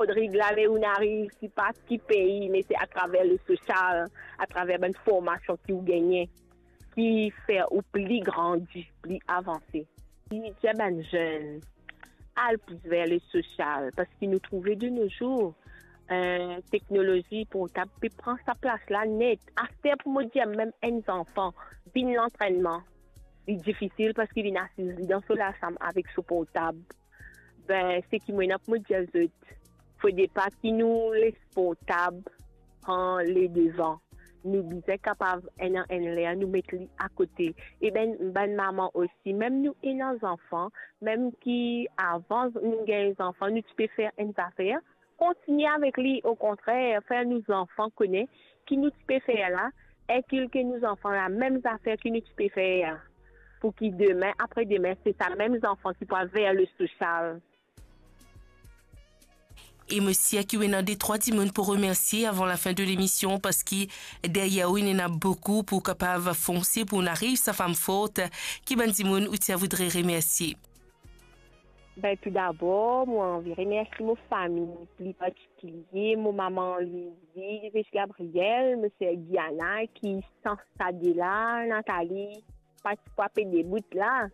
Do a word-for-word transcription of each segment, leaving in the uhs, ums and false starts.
Rodrig, la, ler ou'nn ariv, sipa ki pei, me se atraver le sosial, atraver bann formasion ki ou gagne, ki fer ou pli grandi, pli avanse. Li dir bann zenn, al plis ver le sosial, parski nou trouve de nos jours, eh, teknolozi portab pe pran sa plas la net. Aster pou mo dir mem enn zanfan vinn lantrennman, li difisil parski li finn asiz li dan so lasam avek so portab. Ben, seki mo ena pou mo dir zot, fode pa ki nou les portab pran ledevan. Nou bizin kapav enn, enn ler nou met li akote. E ben, bann mama osi, mem nou ena zanfan, mem ki avan nou gagn zanfan, nou ti pe fer enn zafer, kontigne avek li, okontrer, fer nou zanfan kone ki nou ti pe fer la, inkilke nou zanfan la mem zafer ki nou ti pe fer, pou ki demin, apre demin, se sa mem zanfan ki pou al ver le sosial. E mo sir ki ou ena de trwa dimoun pou remersie avan lafin de lemision, parski deryer ou, ena boukou pou kapav fonse pou ariv sa fam fort. Ki bann dimoun ou ti a voudre remersie? Ben, toudabor, mo anvi remersie mo fami, pli partikilie mo mama Lwizi, Lwizi Gabriel, mo ser Giana, ki san sa de la, Nathalie, pa ti pou pe debout la.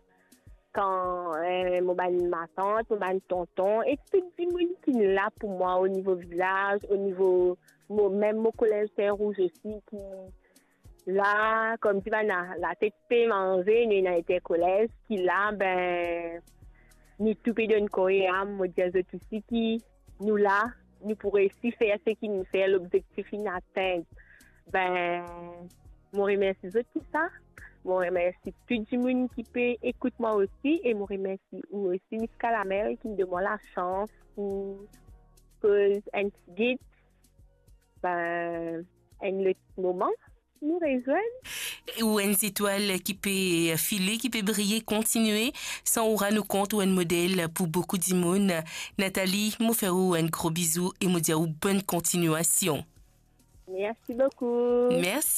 Kan, eh, mo bann matant, mo bann tonton, e tou dimoun ki la pou mwa o nivo vilaz, o nivo mo, mem mo kolez Terre Rouge osi, ki la, koumsi bann la, latet pe manze, nou ena interkolez ki la, ben, nou tou pe donn kor e am, mo dir zot osi ki nou la, nou pou resi fer seki nou fer, lobzektif inn atenn. Ben, mo remersi zot pou sa. Mo remersi tou dimoun ki pe ekout mwa osi, e mo remersi ou osi, Miss Kalamel, ki donn mwa lasans pou koz enn ti git. Ben, enn lot moman, nou rezwenn. Ou enn zetwal ki pe file, ki pe briye, kontigne. San ou rann ou kont, ou enn model pou boukou dimoun. Nathalie, mo fer ou enn gro bizou e mo dir ou bonn kontignasion. Mersi boukou. Mersi.